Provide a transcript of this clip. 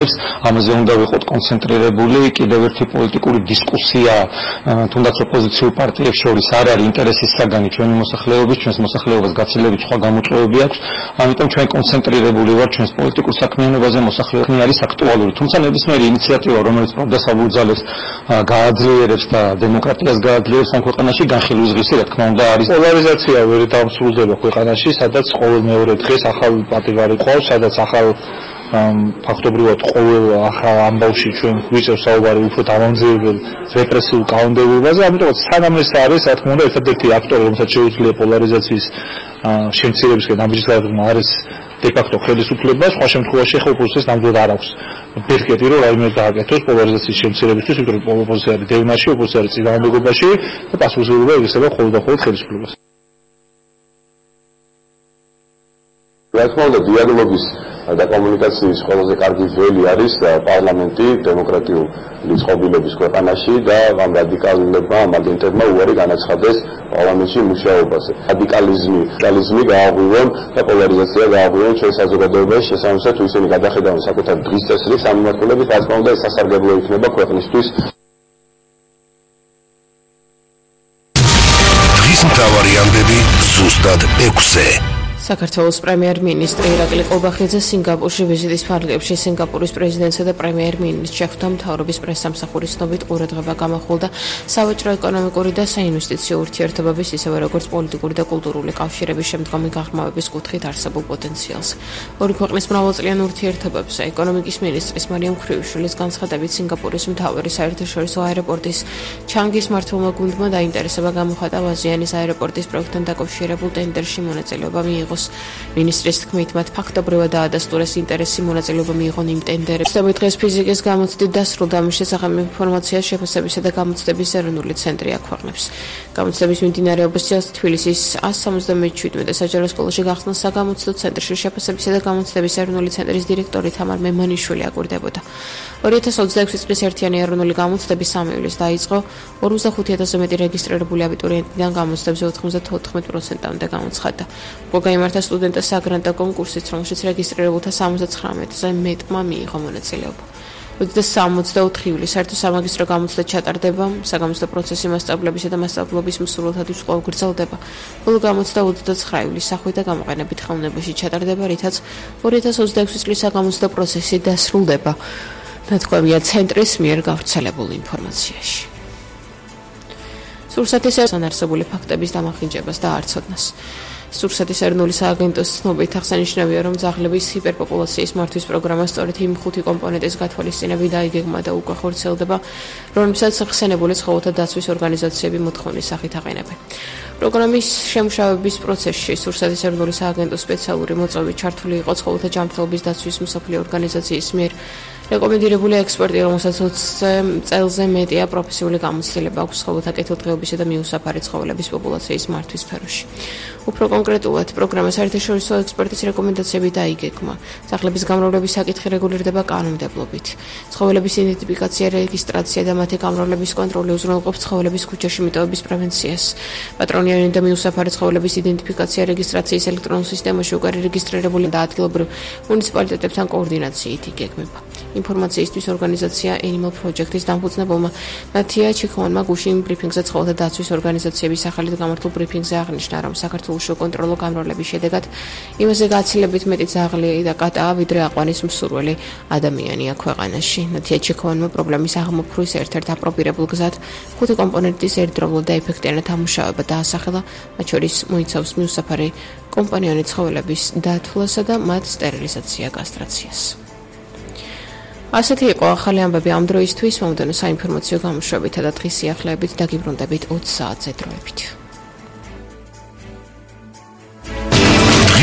ამაზე უნდა ვიყოთ კონცენტრირებული, კიდევ ერთი პოლიტიკური დისკუსია თუნდაც ოპოზიციურ პარტიებს შორის არ არის ინტერესის საგანი ჩვენი მოსახლეობის, ჩვენს მოსახლეობას გაცილებით სხვა გამოწვევები აქვს, ამიტომ ჩვენ კონცენტრირებული ვართ ჩვენს პოლიტიკურ საქმიანობაზე, მოსახლეობა არის აქტუალური, თუმცა ნებისმიერი ინიციატივა, რომელიც პროდასაბურძალებს გააძლიერებს და დემოკრატიას გააძლიერებს ამ ქვეყანაში, განხილვისღირსი, რა თქმა უნდა, არის პოლარიზაცია ვერ დამსრულდება ქვეყანაში, სადაც ყოველ მეორე დღეს ახალ პატივარი ყავს, სადაც ახალ ფაქტობრივად ყოველ ახალ ამბავში ჩვენ ვიწევს საუბარი უფრო დამამძიმებელ რეპრესიულ კანონმდებლობაზე, ამიტომაც სანამ ეს არის, რა თქმა უნდა, ერთადერთი აქტორი, რომელსაც შეუძლია პოლარიზაციის შემცირებისკენ ამჯერადმა არის დე-ფაქტო ხელისუფლება, სხვა შემთხვევაში ახლა ოპოზიციას ნამდვილად არ აქვს ბერკეტი, რომ რაიმე გააკეთოს პოლარიზაციის შემცირებისთვის, იმიტომ რომ ოპოზიცია არის დევნაში, ოპოზიცია არის წინააღმდეგობაში და პასუხისმგებლობა იგრძნობა მხოლოდ და მხოლოდ ხელისუფლებას. რა თქმა უნდა, დიალოგის და კომუნიკაციის ყველაზე კარგი ველი არის პარლამენტი დემოკრატიული წყობილების ქვეყანაში და ამ რადიკალებმა, ამ აგენტებმა უარი განაცხადეს პარლამენტში მუშაობაზე. რადიკალიზმი გააღვივონ და პოლარიზაცია გააღვივონ ჩვენ საზოგადოებაში, შესაბამისად თუ ისინი გადახედავენ საკუთარ დღის წესრიგს ამ მიმართულებით, რა თქმა უნდა, ეს სასარგებლო იქნება ქვეყნისთვის. დღის მთავარი ამბები ზუსტად 6-ზე. საქართველოს პრემიერ-მინისტრი ირაკლი ყობახიძე სინგაპურში ვიზიტის ფარგლებში სინგაპურის პრეზიდენტსა და პრემიერ-მინისტრს შეხვდა მთავრობის პრესსამსახურის ცნობით ყურადღება გამახვილდა სავაჭრო ეკონომიკური და საინვესტიციო ურთიერთობების ისევე როგორც პოლიტიკური და კულტურული კავშირების შემდგომი გაღრმავების კუთხით არსებულ პოტენციალს. ორი ქვეყნის მრავალწლიან ურთიერთობებზე ეკონომიკის მინისტრის მარიამ ხრიუშვილის განცხადებით სინგაპურის მთავარი საერთაშორისო აეროპორტის ჩანგის მმართველმა გუნდმა დაინტერესება გამოხატა აზიანის აეროპორტის პროექტთან დაკავშირებულ ტენდერში მონაწილეობა მიიღოს. მინისტრის თქმით, მათ ფაქტობრივად დაადასტურეს ინტერესი მონაწილეობა მიიღონ იმ ტენდერებში. დღეს ფიზიკის გამოცდით დასრულდა ამის შესახებ ინფორმაციას შეფასებისა და გამოცდების ეროვნული ცენტრი აქვეყნებს. გამოცდების მიმდინარეობის წელს თბილისის 177 საჯარო სკოლაში გახსნა საგამოცდო ცენტრში შეფასებისა და გამოცდების ეროვნული ცენტრის დირექტორი თამარ მემანიშვილი აკვირდებოდა. 2026 წლის ერთიანი ეროვნული გამოცდები 3 ივლისს დაიწყო, 45000-ზე მეტი რეგისტრირებული აბიტურიენტიდან გამოცდებზე 94%-მდე გამოცხადდა. გაიმართა სტუდენტთა საგრანტო კონკურსიც, რომელშიც რეგისტრირებულთა 79-ზე მეტმა მიიღო მონაწილეობა. 2064 ივლისს საერთო სამაგისტრო გამოცდა ჩატარდება, საგამოცდო პროცესი მასწავლებისა და მასწავლობის მსურველთათვის კვლავ გრძელდება. ბოლო გამოცდა 29 ივლისს სახვით და გამოყენებით ხელოვნებაში ჩატარდება, რითაც 2026 წლის საგამოცდო პროცესი დასრულდება. ნათქვამია ცენტრის მიერ გავრცელებულ ინფორმაციაში. სურსათის არარსებული ფაქტების დამახინჯებას და არცოდნას. სურსათის ეროვნული სააგენტოს ცნობით აღსანიშნავია, რომ ძაღლების ჰიპერპოპულაციის მართვის პროგრამა სწორედ იმ 5 კომპონენტის გათვალისწინებით დაიგეგმა და უკვე ხორციელდება, რომლებსაც ხსენებული ცხოველთა დაცვის ორგანიზაციები მოთხოვნის სახით აყენებენ. პროგრამის შემუშავების პროცესში სურსათის ეროვნული სააგენტოს სპეციალური მოწვევით ჩართული იყო ცხოველთა ჯანმრთელობის დაცვის მსოფლიო ორგანიზაციის მიერ რეკომენდირებული ექსპერტი, რომელსაც 20 წელზე მეტია პროფესიული გამოცდილება აქვს ცხოველთა კეთილდღეობისა და მიუსაფარი ცხოველების პოპულაციის მართვის სფეროში. უფრო კონკრეტულად, პროგრამას საერთაშორისო ექსპერტის რეკომენდაციები დაიგეგმა. ძაღლების გამრავლების საკითხი რეგულირდება კანონმდებლობით. ცხოველების იდენტიფიკაცია, რეგისტრაცია და მათი გამრავლების კონტროლი უზრუნველყოფს ცხოველების ქუჩაში მიტოვების პრევენციას. პატრონიანი და მიუსაფარი ცხოველების იდენტიფიკაცია, რეგისტრაციის ელექტრონულ სისტემაში უკარი რეგისტრირებული და ადგილობრივ მუნიციპალიტეტებთან კოორდინაციით იგეგმება. ინფორმაციისთვის ორგანიზაცია Animal Project-ის დამფუძნებელმა ნათია ჩიქოვანმა გუშინ ბრიფინგზე ცხოველთა დაცვის ორგანიზაციების სახელით გამართულ ბრიფინგზე აღნიშნა, რომ საქართველოს უკონტროლო გამრავლების შედეგად იმაზე გაცილებით მეტი ძაღლი და კატაა, ვიდრე აყვანის მსურველი ადამიანია ქვეყანაში. ნათია ჩიქოვანმა პრობლემის აღმოფხვრვის ერთ-ერთ აპრობირებულ გზად 5 კომპონენტის ერთდროულად და ეფექტიანად ამუშავება დაასახელა, მათ შორის მოიცავს მიუსაფარი კომპანიონი ცხოველების დათვლასა და მათ სტერილიზაცია, კასტრაციას. ასეთი იყო ახალი ამბები ამ დროისთვის, მომდევნო საინფორმაციო გამოშვებითა და დღის სიახლეებით დაგიბრუნდებით 20 საათზე დროებით.